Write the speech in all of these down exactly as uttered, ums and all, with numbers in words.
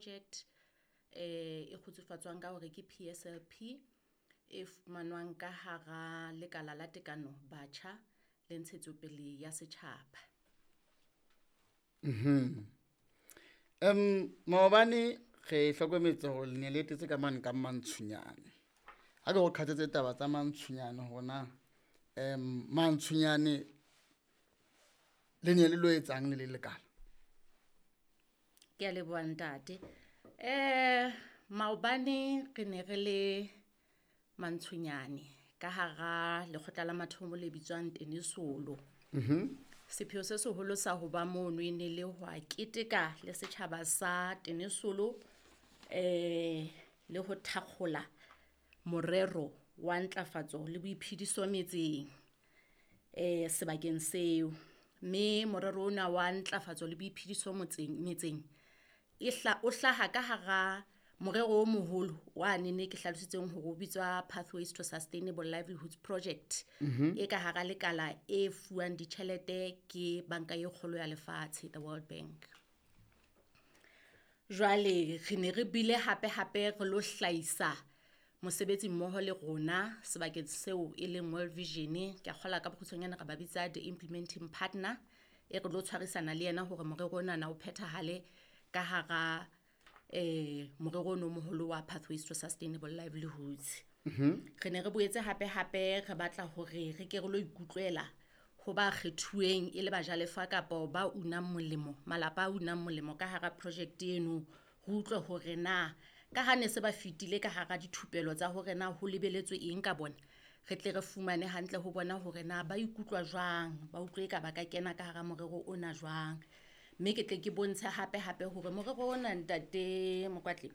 Project, eh e kgutsufatswang ka hore ke P S L P, e fumanwang ka hara lekala la tekano batjha le ntshetsopele ya setjhaba. Mhm. Em maobane re hlokometse hore le ne le etetse ka mane ka Mantshunyane. Ha ke go qhatsetse taba tsa Mantshunyane hore na, em, Mantshunyane le ne le lo etsang le le lekala? Ke a leboha ntate. Eh, maobane re ne re le Mantshunyane ka hara lekgotla la mathomo le bitswang Tenesolo. Mhm. Sepheo se seholo sa ho ba mono e ne le ho a keteka le setjhaba sa Tenesolo, eh, le ho thakgola morero wa ntlafatso le boiphediso metseng, eh, sebakeng seo. Mme morero ona wa ntlafatso le boiphediso motseng, metseng, e hla-, o hlaha ka hara morero o moholo wa nene ke hlalositseng hore o bitswa Pathways to Sustainable Livelihoods Project. Mhm. E ka hara lekala e fuwang ditjhelete ke Banka e Kgolo ya Lefatshe, the World Bank. Jwale re ne re bile hape hape re lo hlahisa mosebetsi mmoho le rona sebakeng seo e leng World Vision. Ke a kgolwa ka bokgutshwanyane re ba bitsa the implementing partner, e re lo tshwarisana le yena hore morero ona o phethahale ka hara, eh, morero ono o moholo wa Pathways to Sustainable Livelihoods. Mhm. Re ne re boetse hape hape re batla hore re ke re lo ikutlwela ho ba kgethuweng e le bajalefa kapa ba unang molemo, malapa a unang molemo ka hara project eno, re utlwe hore na ka ha ne se ba fetile ka hara dithupelo tsa hore na ho lebeletswe eng ka bona, re tle re fumane hantle ho bona hore na ba ikutlwa jwang, ba utlwe eka ba ka kena ka hara morero ona jwang. Mme ke tle ke bontshe hape hape hore morero ona ntate Mokwatle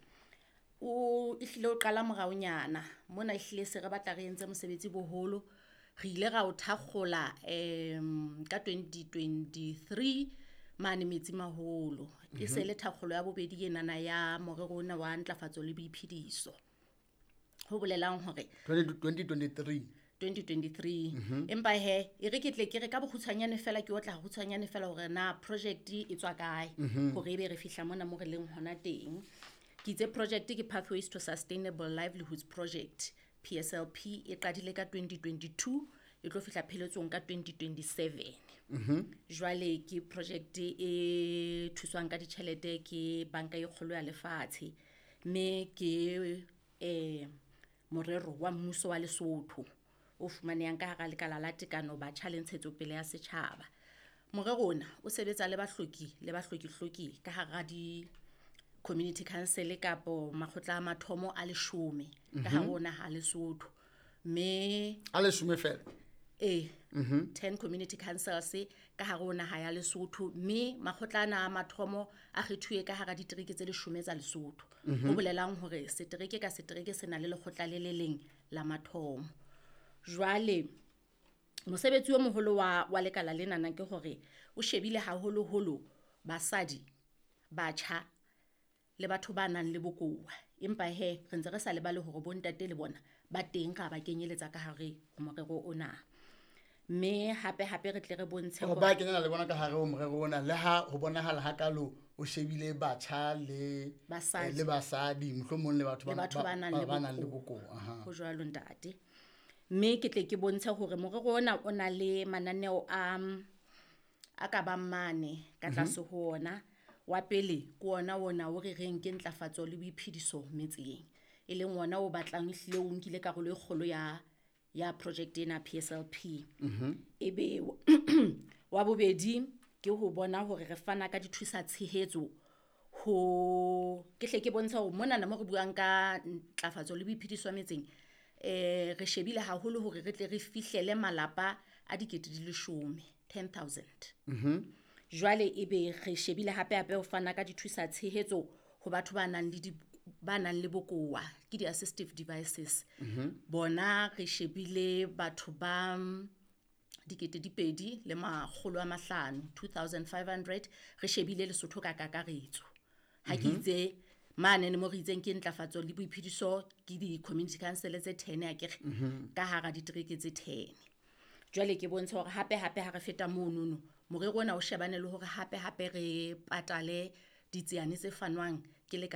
o ehlile o qala moraonyana mona, ehlile se re batla re entse mosebetsi boholo. Re ile ra o thakgola, em, ka twenty twenty-three mane Metsimaholo. E se le thakgolo ya bobedi enana ya morero ona wa ntlafatso le boiphediso. Ho bolelang hore twenty twenty-three. twenty twenty-three. Mhm. Empa he, e re ke tle ke re ka bokgutshwanyane fela, ke otla kgutshwanyane fela hore na project e tswa kae, Mhm. hore ebe re fihla mona mo re leng hona teng. Ke itse project ke Pathways to Sustainable Livelihoods Project, P S L P, e qadile ka twenty twenty-two, e tlo fihla pheletsong ka twenty twenty-seven. Mhm. Jwale ke project e thuswang ka ditjhelete ke Banka e Kgolo ya Lefatshe, mme ke, eh, morero wa mmuso wa Lesotho o fumanehang ka hara lekala la tekano batjha le ntshetsopele ya setjhaba. Morero ona o sebetsa le bahloki le bahlokihloki ka hara di community council kapo makgotla a mathomo a leshome ka hare Mhm. ho naha Lesotho. Mme A leshome fela? Ee, Mhm. ten community councils ka hare ho naha ya Lesotho, mme makgotla ana a mathomo a kgethuwe ka hara ditereke tse leshome tsa Lesotho. Mhm. Ho bolelang hore setereke ka setereke se na le lekgotla le le leng la mathomo. Jwale mosebetsi o moholo wa, wa lekala lenana ke hore o shebile haholoholo basadi, batjha le batho ba nang le bokowa. Empa he, re ntse re sa lebale hore bontate le bona ba teng, ra ba kenyeletsa ka hare ho morero ona. Mme hape hape re tle re bontshe Hore hore ba kenyana le bona ka hare ho morero ona, le ha ho bonahala hakalo o shebile batjha le, Basadi. eh, le basadi, mohlomong le batho Le ba batho ba ba nang ba le ba nang le bokowa. bokowa, aha. Ho jwalo ntate. Mme ke tle ke bontshe hore morero ona o na le mananeo a, a ka bang mane ka Mhm. tlase ho ona. Wa pele ke ona ona o re reng ke ntlafatso le boiphediso metseng, e leng ona o batlang ehlile o nkile karolo e kgolo ya, ya project ena P S L P. Mhm. Ebe wa bobedi ke ho bona hore re fana ka dithusa tshehetso ho, ke hle ke bontshe hore monana mo re buang ka ntlafatso le boiphediso metseng, eh, re shebile haholo hore re tle re fihlele malapa a dikete di leshome, ten thousand. Mhm. Jwale ebe re shebile hape hape ho fana ka dithusa tshehetso ho batho ba nang le di, ba nang le bokowa, ke di-assistive devices. Mhm. Bona re shebile batho ba dikete di pedi le makgolo a mahlano, two thousand five hundred, re shebile Lesotho ka kakaretso. Ha ke Mhm. itse mane mo re itseng ke ntlafatso le boiphediso ke di-community council tse ten akere, Mhm. ka hara ditereke tse ten. Jwale ke bontsha hore hape hape ha re feta monono, morero ona o shebane le hore hape hape re patale ditsiane tse fanwang